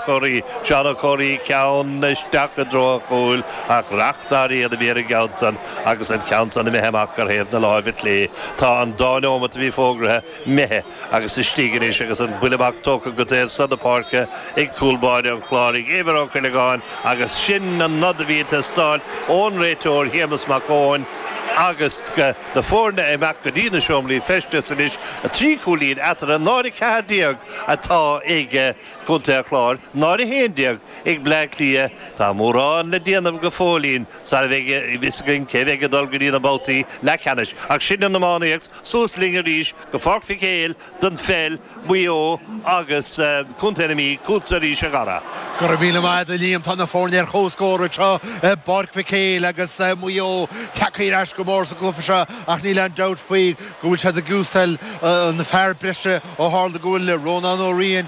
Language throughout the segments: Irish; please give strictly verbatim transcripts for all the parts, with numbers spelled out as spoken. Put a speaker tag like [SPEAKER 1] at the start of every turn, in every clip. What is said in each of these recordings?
[SPEAKER 1] Comhraí, Seán Ó Comhraí ceann isteach i dtreo an chúil ach reachtáirí a bhí ar an gceann san agus an ceann san imithe amach ar thaobh na láimhe clé. Tá an dá nóiméad a bhí fógartha imithe agus istigh anois agus an buille amach tógtha go taobh san na páirce ag cúl báire an Chláir Éibhear Ó Cuileagáin agus sin an nod a bhí ag teastáil ón réiteoir Séamus Mac Eoin agus na foirne ag imeacht go dtí na seomraí feistis anois a trí chúilín eatarthu náid a ceathair déag atá ag Contae an Chláir náid a haon déag ag Bleá Cliath tá mórán le déanamh go fóillín sara mbeidh a fhios againn cé bheidh ag dul go dtí na babhtaí leathcheannais ach sin an iománaíocht suas linn arís go Pháirc Mhic Éil don pheil Maigh Eo agus Contae na Mí chugatsa arís a Dhara.
[SPEAKER 2] Go raibh míle maith agat a Liam tá na foirne ar comhscór anseo i bPáirc Mhic Éil agus Maigh Eo tagtha ar ais go mór sa gcluiche seo ach níl aon dabht faoi go bhfuil siad ag úsáid na fear breise ó tharla go bhfuil Rónán Ó Riain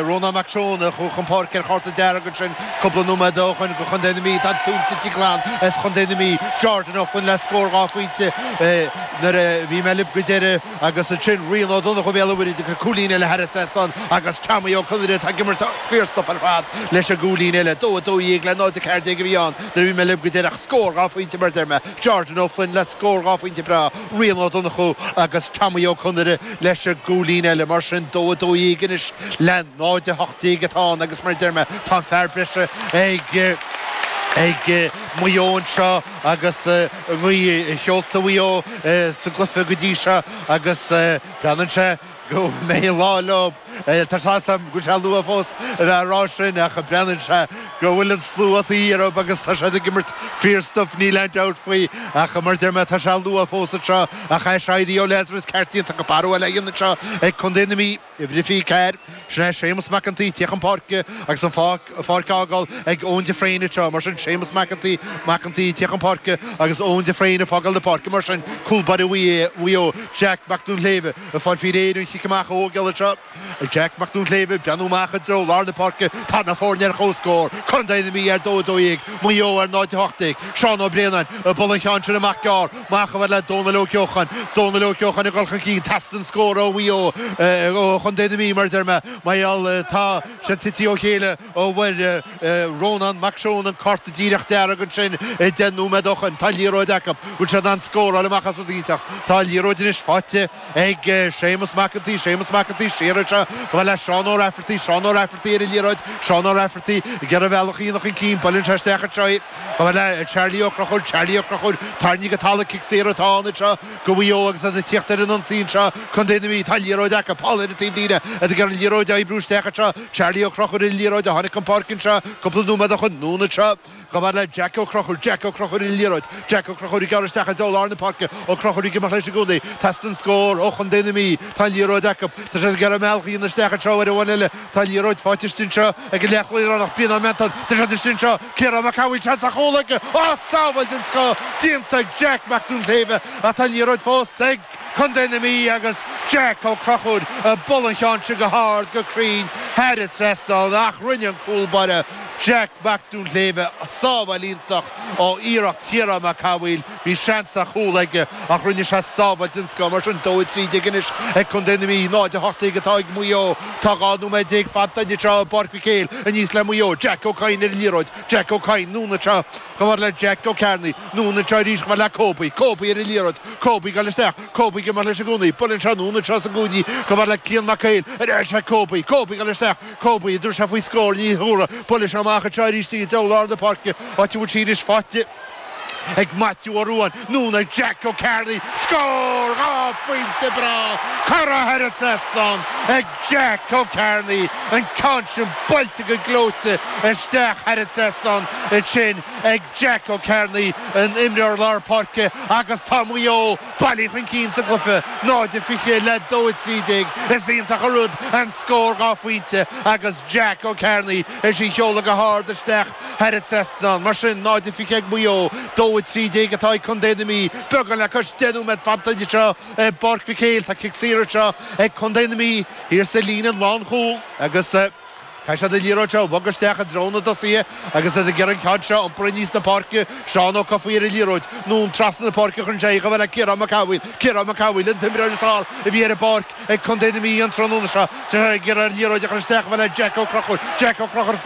[SPEAKER 2] Rónán Mac Seoin chun páirce ar chárta dearg ansin cúpla nóiméad ó shin go Chontae na Mí tá túnta glan as Chontae na Mí Jordan O'Flynn le scór dhá phointe nuair a bhí mé libh go deireadh agus ansin Rian Ó Donnchú Béal Mhuirthead cúilín eile thar an agus Tommy Ó Conaire tá ag imirt fíorstuif ar fad leis an gcúilín eile dó dó dhéag le náid ceathair déag a bhí ann nuair a bhí mé libh go deireadh scór dhá phointe mar deir mé Jordan O'Flynn le scór dhá phointe breá Rian Ó Donnchú agus Tommy Ó Conaire leis an gcúilín eile mar sin dó dó dhéag anois le náid a hocht déag atá ann agus mar deir mé tá fear breise ag ag Maigh Eo anseo agus ngaoth seolta Mhaigh Eo sa gcluiche go dtí seo agus breathnaíonn sé go mbeidh lá leo Tá sé go sé luath fós a bheith rá sin ach breathnaíonn sé go bhfuil an slua orthu agus tá sé ag imirt fíorstuif níl aon dabht faoi ach mar deir mé tá sé luath fós anseo ach é séirí ó Lazarus ceartíonn go barú le anseo ag Contae na Mí i bhrifi ceir sin é Séamus McEntee teach an páirce agus an pháirc á fhágáil ag Eoin de Fréine seo mar sin Séamus McEntee McEntee teach an páirce agus Eoin de Fréine fágáil na páirce mar sin cúl báire Mhaigh Eo Jack Mac Dúnléibh a fáil faoi réir an chic amach ógeall seo Jack Mac Dúnléibh breathnú amach i dtreo lár na páirce tá na foirne ar comhscór Contae na Mí ar dó dó dhéag Maigh Eo ar náid hocht déag Seán Ó Bréanainn bualadh an ceann sin amach gearr amach le Dónal Ó Ceochan Dónal Ó Ceochan ag dul chun cinn teastaíonn scór ó Mhaigh Eo ó Chontae na Mí mar deir mé Maiall tá sé tite ó chéile ó bhfuair Rónán Mac Seoin an cárta díreach dearg ansin deich nóiméad ó shin tá liathróid acu bhfuil sé an scóráil amach as rud iontach Tá liathróid anois faighte ag Séamus McEntee Séamus McEntee siar seo go le Seán Ó Rafferty Seán Ó Rafferty ar an liathróid Seán Ó Rafferty gur bhealach íonach an cinn buaileann sé isteach anseo go le Charlie Ó Conchúir Charlie Ó Conchúir tarraingthe go talamh cic saor atá ann seo go Mhaigh Eo agus as tíocht ar an ionsaí seo Contae na Mí tá liathróid acu Paul ar an taobh líne a gur an liathróid oibriú isteach seo Charlie Ó Conchúir an liathróid a tháinig an pháirc seo cúpla nóiméad ó shin anonn seo go le Jack Ó Conchúir Jack Ó Conchúir an liathróid Jack Ó Conchúir gearr isteach i lár na páirce Ó Conchúir go leis an gcónaí Teastaíonn scór ó Chontae na Mí tá liathróid acu Tá sé gar mealchaíon isteach anseo ar bhain eile tá liathróid faighte anseo ag an leathchúlaí Brian Menton Tá sé sin seo Ciarán Mac Cathmhaoil seans ar chúl aige á sábháil den scoth déanta Jack Mac Dúnléibhe atá liathróid fós ag Contae na Mí agus Jack Ó Conchúir bualadh an ceann sin go hard go cruinn thar an trasnán ach rinne an cúl báire Jack Mac Dúnléibhe sábháil iontach ó iarracht Chiarán Mac Cathmhaoil bhí seans ar chúl aige ach rinne sé sábháil den scoth mar sin dó trí déag anois ag Contae na Mí náid a hocht déag atá ag Maigh Eo tá dhá nóiméad déag fanta seo Páirc Mhic Éil aníos le Maigh Eo Jack Ó Cadhain ar an liathróid Jack Ó Cadhain anonn seo go le Jack Ó Cearnaí anonn seo arís go le Kobe Kobe ar an liathróid Kobe go isteach Kobe go mar leis an gcónaí buaileann sé anonn seo sa gcúinne go mar le Cian Mac Éil ar sé Kobe Kobe go isteach Kobe dúir sé faoi scór ní thuara buaileann sé amach seo arís i dtreo lár na páirce áit a bhfuil sí anois faighte ag Matthew Ó Ruáin anonn ag Jack Ó Cearnaí scór dhá phointe breá curtha thar an trasnán ag Jack Ó Cearnaí an ceann sin buailte go gleoite isteach thar an trasnán sin ag Jack Ó Cearnaí an imreoir lár páirce agus tá Maigh Eo bailithe chun cinn sa gcluiche náid fiche le dó trí déag is iontach an rud an scór dhá phointe agus Jack Ó Cearnaí é sin seolta go hard isteach thar an trasnán mar sin náid fiche ag Maigh Eo dó trí déag atá ag Contae na Mí beagán le cois deich nóiméad fanta seo Páirc Mhic Éil tá cic saor seo ag Contae na Mí thiar sa líne lánchúil agus Tá sé de liathróid seo bhog isteach i dtreo na dtosaithe agus as a gur an ceann seo iompar aníos na páirce Seán Ó Cofaí ar an liathróid anonn trasna na páirce chun sé go bhfuil le Ciarán Mac Cathmhaoil Ciarán Mac Cathmhaoil an t-imreoir is fearr a bhí ar an bpáirc ag Contae na Mí an tráthnóna seo gur ar liathróid a chur isteach bhfuil le Jack Ó Conchúir Jack Ó Conchúir